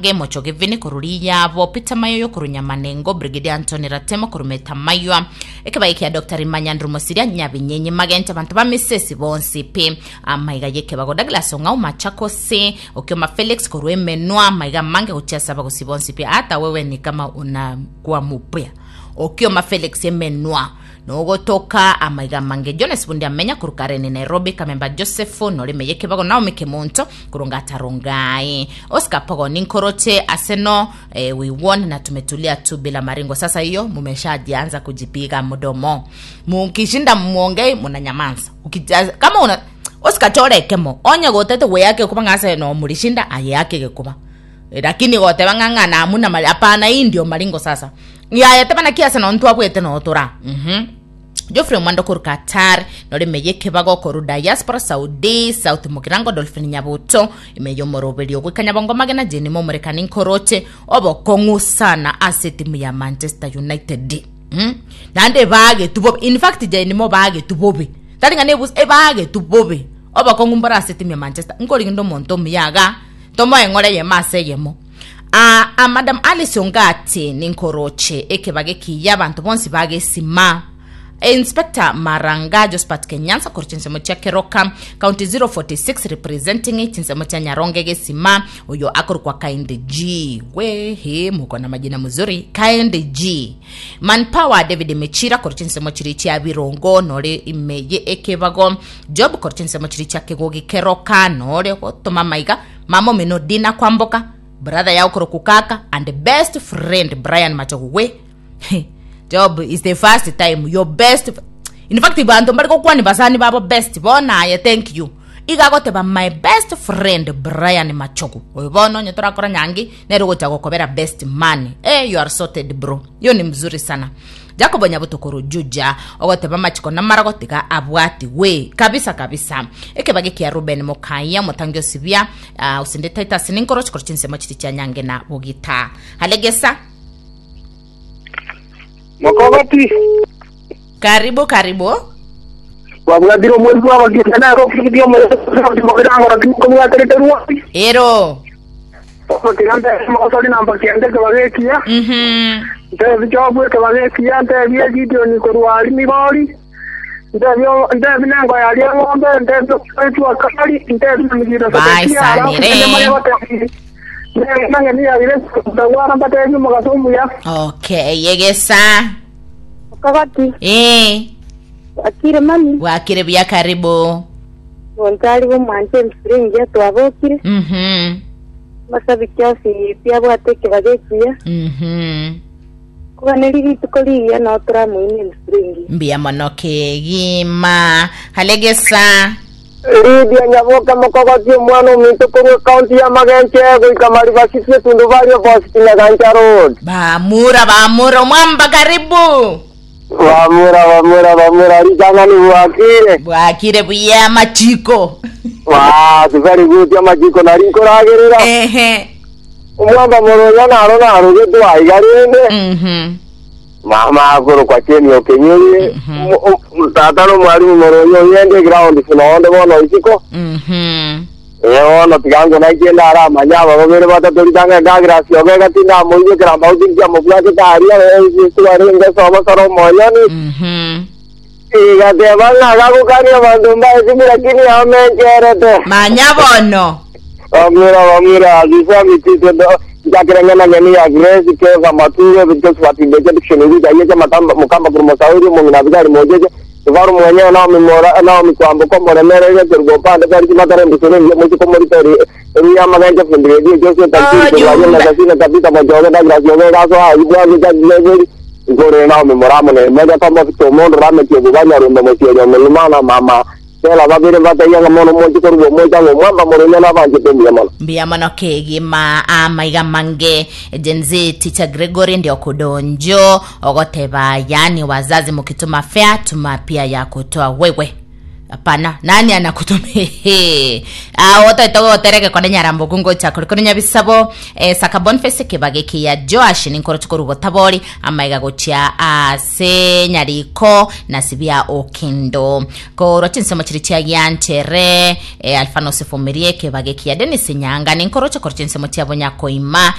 Gemocho Gevini korwa Riyabo, Peter Mayoyo korwa Nyamanengo, Brigadier Anthony Ratemo korwa Metamaywa, ekebago kia Dr. Rimanya Andrew Mosiria, Nyabinyenyi Magente, abanto ba Misesi bonsi pi, amaiga y'ekebago Douglas Ong'au Machakos, Okioma Felix korwa Emenwa, amaiga amange gochia ase abagosi bonsi pi, hata wewe ni kama unakuwa mupya. Okioma Felix Emenwa, Nogotoka amaiga amange Jones Bundi amenya korwa Karen Nairobi Kamemba Joseph noreme yekebago Naomi Kemunto korwa Ngatarongai Oscar Pogoni nkoroche Arsenal eh, we won na tumetulia tu bila maringo sasa hiyo mumeshajianza kujipiga mdomo mukishinda muongei munanyamanza Ukija- kama una Oscar chorekemo onye gotete gweyake kuba ng'a Arsenal murishinda aye yake gekuba Lakini goteba ng'a ng'a namuna mari hapana hii ndio maringo sasa yaya teba naki ase nonye ntwabwete noo tora mhm Geoffrey Omwando korwa Qatar nore ime y'ekebago korwa diaspora Saudi South Mugirango Dolphin Nyabuto ime y'omoroberi ogoika Nyabongo Magena Jane Momorekani nkoroche obokong'u sana ase etimu ya Manchester United mm? naende ebagetu bobe in fact Jane mo bagetu bobe tari ng'a nebusa ebagetu bobe obokong'u mbore ase etimu ya Manchester nkorigende omonto omuya iga Tomoe eng'ora eyemo ase eyemo. Aa, a Madam Alice Ongati ninkoroche ekebago ekiya abanto bonsi bagesima. Inspector Maranga Josphat Kenyansa korwa chinsemo chia Keroka County 046 representing chinsemo chia Nyaronge Gesima oyo akorokwa Kind G we he muko na majina mzuri Kind G Manpower David Mechira korwa chinsemo chiri chia Birongo nore ime ye ekebago Job korwa chinsemo chiria chia kegogi keroka nore gotoma maiga mama omino Dina kwamboka brother yao korokwa kaka and best friend Brian Machogu we Job is the first time your best in fact banto mbari gokwani basani babo best bono aye thank you iga agoteba my best friend Brian Machogu oyo bono onye torakora nyangi nere ogocha gokobera best man eh you are sorted bro Hiyo ni mzuri sana. Jacobo Nyabuto korwa Juja ogoteba amachiko namarago tiga abwatigwe kabisa kabisa. Ekebage kia Ruben Mokaya omotangi osibia uh, osinde Titus ninkoro chikoro chinsemo chiri chia nyange na bogita. Halegesa Mokogoti karibu karibu. twabwatire omweri bw'abageni nere ofisi omorero timokobwaterete rwoti Ero. Tiga ntebie omogosori namba kianda ekebago ekiya, Mhm. ntebie Jobu ekebago ekiya, ntebie Gideoni korwa aria Migori, ntebie ntebie nengo yaria eng'ombe, ntebie omoretu Akari, ntebie na Migiro Sedekia, alafu Baisanire. naende manye gotebia neng'eni ya Grace Mutagwara mbatebie omogaso omuya. Okay, yegesa. Okogoti, Eh, bwakire mami, bwakire buya karibu. monto aria bw'omwancha emsuri engiya twabokire, Mhm. amasabiki onsi pi abwate ekebago ekiya, Mhm. koganeri rituko rigiya nao toramoine emsuri engiya. Mbuya mono kegima. Halegesa. Lydia Nyaboke Mokogoti omwana ominto korwa ekaunti ya Magenche goika Mariba City Etundubari Opposite Nyagancha Road. Bamura bamura omwamba karibu. Bamura bamura bamura ritang'ani bwakire. Bwakire buya amachiko. Basi very good amachiko nari nkoragerera. Ehe. Omwamba moronya naro narogetwe aiga rende. Mhm. Mama akorokwa Jane Okenyeri. Tata nomwalimu moronya oyende ground noonde bono isiko. Mhm. Ee bono tiga nkonaikende nare amanye aba babere batato ritang'ani Douglas Ogega tindamoigwekera mbauti nkiamobwatete aria twarenge sobo soro omoyoni. Mhm. Igateba ng'a gagokania abanto mbaesimire lakini amencherete. Manya bono. Bamwira bamwira Azusa mitito do njakira ng'ana ng'eni ya Grace Keva Mature Josephat Ndeche Dickson Uguja Yeche Matamba Mukamba Kurumosauri Mung'ina Abigari Mojeche Ivaru mwenyewe Naomi Mora Naomi Kwamboka Moremere Yeche Rugopande Kari Kimatare Mbusure Nje Muchiko Morito Ri Ria Magenche Fundi Redio Jose Takiri Kulaje Ojumbe. Nagasina Tabita Mojoge Douglas Yoge Gaso Ibwaje Jaglegeri Igore Naomi Moramo ne Meja Kamba Kitomondo Rame Kiobuganya Rumbe Mochiejo Melimana Mama Sela babere mbataiya ng'a mono moche korwa omoika ng'a omwamba morenge nabanchete mbuya mono. Mbuya mono kegima amaiga mange Gen Z teacher Gregory ndio kudonjo ogoteba yani wazazi mukituma fare tuma pia ya kutoa wewe. Hapana, nani anakutumia? Ah, otoete gotereke kone nyarambo kungocha kuri kuri nyabisabo eh, saka Boniface kebage kia Joash ninkoro chikorubo tabori amaiga gochia ase nyariko na sibia okindo korwa chinsemo chiri chia gianchere eh, Alfano Sefumirie kebage kia Dennis Nyanga ninkoro chikoro chinsemo chia bonyakoima.